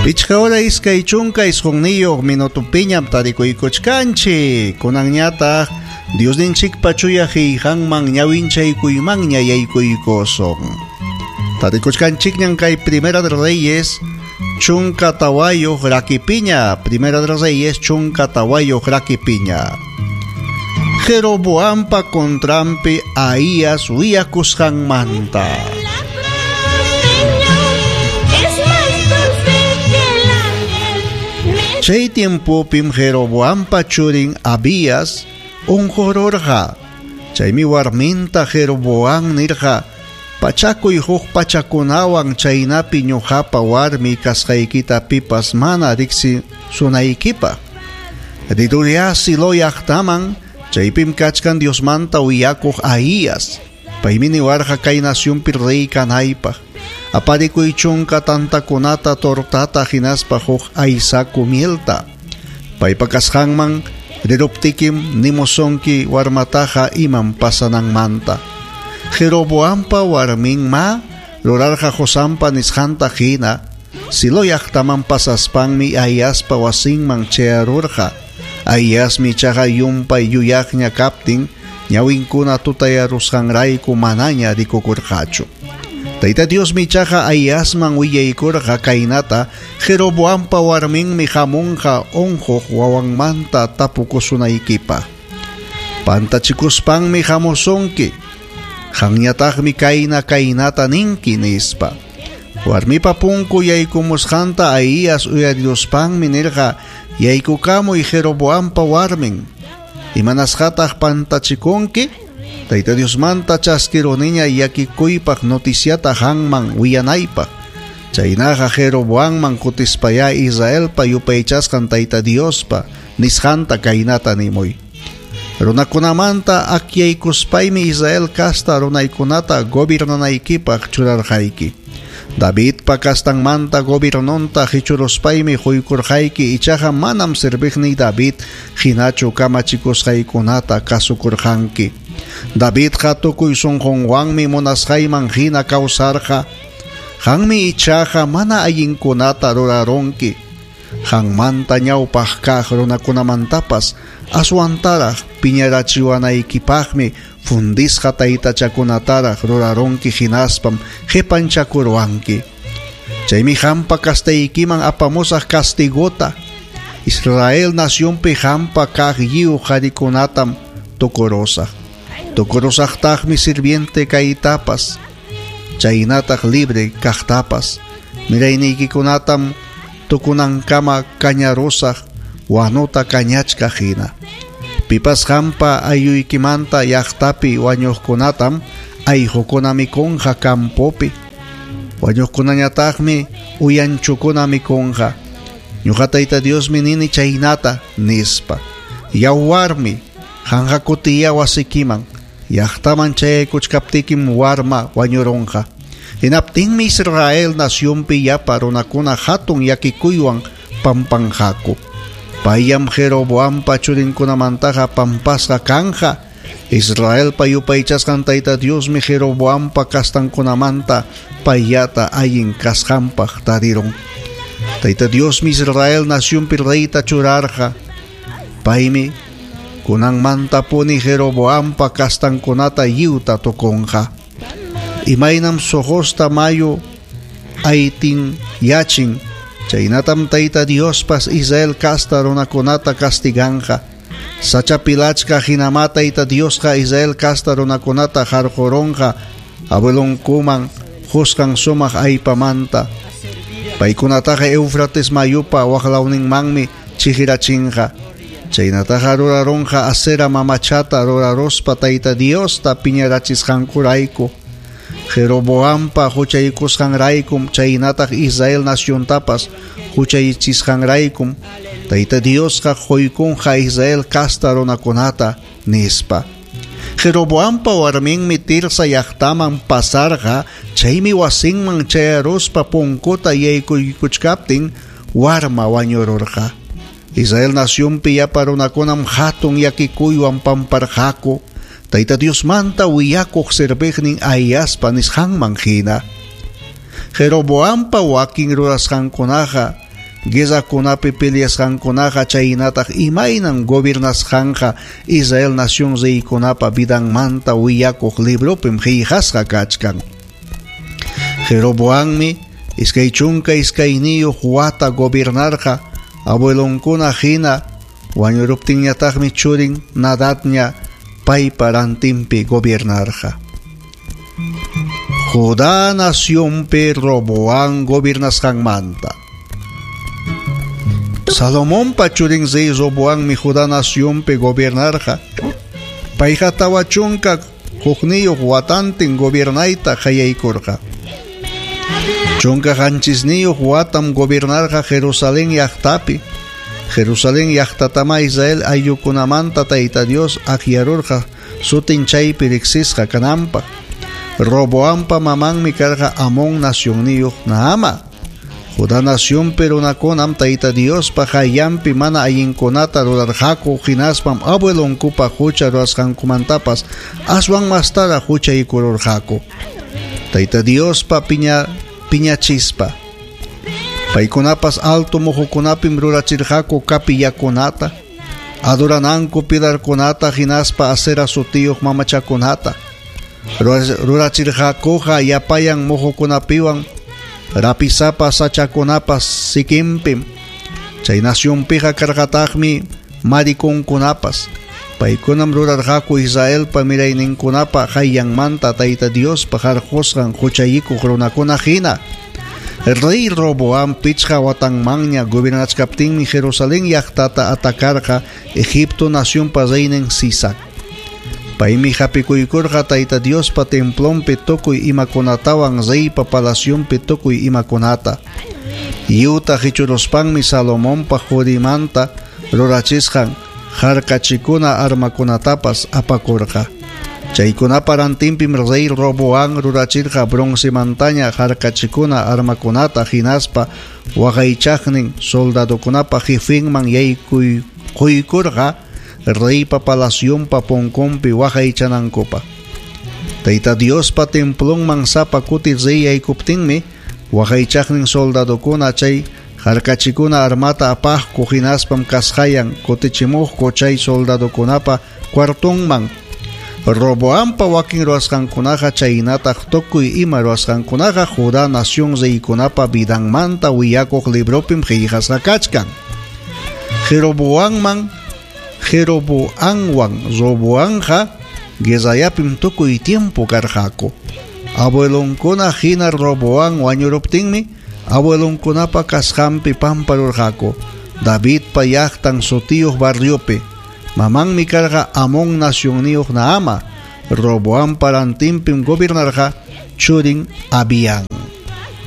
Pichqa hora 29 minutopiñam tarikuykuchkanchik. Kunanñataq Diosninchikpa chuya qillqanman ñawinchaykuymanña yaykuykusun. Tarikuchkanchikñan kay Primera de Reyes 14 rakipiña. Primera de Reyes 14 rakipiña. Jeroboampa contranpi Ahías willakusqanmanta. Chay tiempopim Jeroboampa churin Abías unqururqa. Chaymi warminta Jeroboam nirqa: Pachakuy huk pachakunawan chaynapi ñuqapa warmi kasqaykita pipas mana riqsisunaykipaq. Rirurya Silo llaqtaman, chaypim kachkan Diosmanta willakuq Ahías. Paymi niwarqa kay nacionpi rey kanaypaq. Aparikuy chunka tantakunata, tortata hinaspa huk aysaku mielta. Paypa kasqanman riruptikim nimusunki warmataqa imam pasananmanta. Jeroboampa warminma rurarqa Josampa nisqanta hina. Silo llaqtaman pasaspanmi Ahiaspa wasinman chayarurqa. Ahiasmi ichaqa llumpay yuyaqña kaptin ñawinkuna tutayarusqanrayku manaña rikukurqachu. Tayta Diosmi ichaqa Ahiasman willaykurqa kaynata: Jeroboampa warminmi hamunqa unquq wawanmanta tapukusunaykipaq. Pantachikuspanmi hamusunki. Qanñataqmi kayna kaynata ninki, nispa. Warmipa punku yaykumusqanta Ahías uyariruspanmi nirqa: Yaykukamuy Jeroboampa warmin. Imanasqataq pantachikunki? Tayta Diosmanta chaskiruniña llakikuypaq noticiata qanman willanaypaq. Chaynaqa Jeroboamman kutispayá Israelpa yupaychasqan Tayta Diospa nisqanta kaynata nimuy. Runakunamanta akyaykuspaymi Israel casta runaykunata gobernanaykipaq churarqayki. Davidpa castanmanta gobiernonta hichuruspaymi quykurqayki, ichaqa manam serviqniy David hinachu kamachikusqaykunata kasukurqanki. Davidqa tukuy sunqunwanmi munasqayman hina kawsarqa. Qanmi ichaqa mana allinkunata rurarunki. Qanmanta ñawpaq kaq runakunamantapas aswantaraq piñarachiwanaykipaqmi fundisqa taytachakunataraq rurarunki hinaspam qipanchakurwanki. Chaymi qampa kastaykiman apamusaq castigota. Israel nacionpi qampa kaq lliw qarikunatam tukurusaq. Tukurusaqtaqmi sirviente kaytapas, chaynataq libre kaqtapas. Mirayniykikunatam tukunankama kañarusaq wanuta kañachkaq hina. Pipas qampa ayuykimanta llaqtapi wañuqkunatam ayqukuna mikunqa campopi. Wañuqkunañataqmi uyanchukuna mikunqa. Ñuqa Tayta Diosmi nini chaynata, nispa. Yaw warmi, qanqa kutiya wasikiman. Llaqtaman chayaykuchkaptikim warma wañurunqa. Hinaptinmi Israel nacionpi llapa runakuna hatun llakikuywan pampanqaku. Payam Jeroboampa churinkunamantaqa pampasqa kanja. Israelpa yupaychasqan Tayta Diosmi Jeroboampa kastankunamanta payllata allin kasqanpaq tarirun. Tayta Diosmi Israel nacionpi reyta churarqa. Paymi kunanmantapuni Jeroboampa kastankunata lliwta tukunqa. Imaynam sojosta mayu aytin yachin, chaynatam Tayta Diospas Israel casta runakunata castiganqa. Sachapilachka hinama Tayta Diosqa Israel casta runakunata harqurunqa abuelonkuman qusqan sumaq aypamanta. Paykunataqa Eufrates mayupa waqlawninmanmi chihirachinqa. Chaynataqa rurarunqa Asera mamachata ruraruspa Tayta Diosta piñarachisqankurayku. Jeroboampa huchaykusqanraykum chaynataq Israel naciontapas huchaychisqanraykum Tayta Diosqa quykunqa Israel casta runakunata, nispa. Jeroboampa warminmi Tirsa llaqtaman pasarqa, chaymi wasinman chayaruspa punkuta yaykuykuchkaptin warma wañururqa. Israel nacionpi llapa runakunam hatun llakikuywan pamparqaku. Tayta Diosmanta willakuq serviqnin Ahiaspa nisqanman hina. Jeroboampa wakin rurasqankunaqa Guerrakunapi peleasqankunaqa chaynataq imaynam gobernasqanqa Israel nación reykunapa vidanmanta willakuq libropim qillqasqa kachkan. Jeroboammi 22 wata gobernarqa abuelonkuna hina wañuruptinñataqmi churin Nadadña paypa rantinpi gobernarqa. Judá nacionpi Roboam gobernasqanmanta. Salomonpa churin rey Roboammi Judá nacionpi gobernarqa. Payqa 41 watantin gobernayta qallaykurqa. 17 watam gobernarqa Jerusalén llaqtapi. Jerusalén llaqtatama Israel ayllukunamanta Tayta Dios akyarurqa sutin chaypi riqsisqa kananpaq. Roboampa mamanmi karqa Amón nacionniyuq Naama. Judá nacionpi runakunam Tayta Diospa qayllanpi mana allinkunata rurarqaku hinaspam abuelonkupa hucha rurasqankumantapas aswan mastaraq huchaykururqaku. Tayta Diospa piñachispa. Paykunapas alto muhukunapim rurachirqaku kapillakunata, adorananku pilarkunata hinaspa acera sutiyuq mamachakunata. Rurachirqakuqa yapayan muhukunapiwan rapisapa sachakunapas sikinpim. Chay nacionpiqa karqataqmi marikunkunapas. Paykunam rurarqaku Israelpa mirayninkunapa qayllanmanta Tayta Diospa harqusqan huchayikuq runakuna hina. Rey Roboam 5 watanmanña gobernachkaptinmi Jerusalén llaqtata atacarqa Egipto nacionpa reynin Sisac. Paymi hapikuykurqa Tayta Diospa templonpi tukuy imakunatawan reypa palacionpi tukuy imakunata. Lliwta hichuruspanmi Salomonpa qurimanta rurachisqan harkachikuna armakunatapas apakurqa. Chaykunapa rantinpim rey Roboam rurachirqa broncemantaña harkachikuna armakunata hinaspa waqaychaqnin soldadokunapa jefinman yaykuykurqa reypa palacionpa punkunpi waqaychanankupaq. Tayta Diospa templonman sapa kuti rey yaykuptinmi waqaychaqnin soldadokuna chay harkachikuna armata apaqku hinaspam kasqayan kutichimuqku chay soldadokunapa cuartonman. Roboampa wakin ruwasqankunaqa chaynataq tukuy ima ruwasqankunaqa Judá nación reykunapa vidanmanta willakuq libropim qillqasqa kachkan. Jeroboamwan Roboamqa guerrayapim tukuy tiempo karqaku. Abuelonkuna hina Roboam wañuruptinmi abuelonkunapa kasqanpi pamparurqaku Davidpa llaqtan sutiyuq barriopi. Mamanmi karqa Amón nacionniyuq Naama. Roboampa rantinpim gobernarqa churin Abián.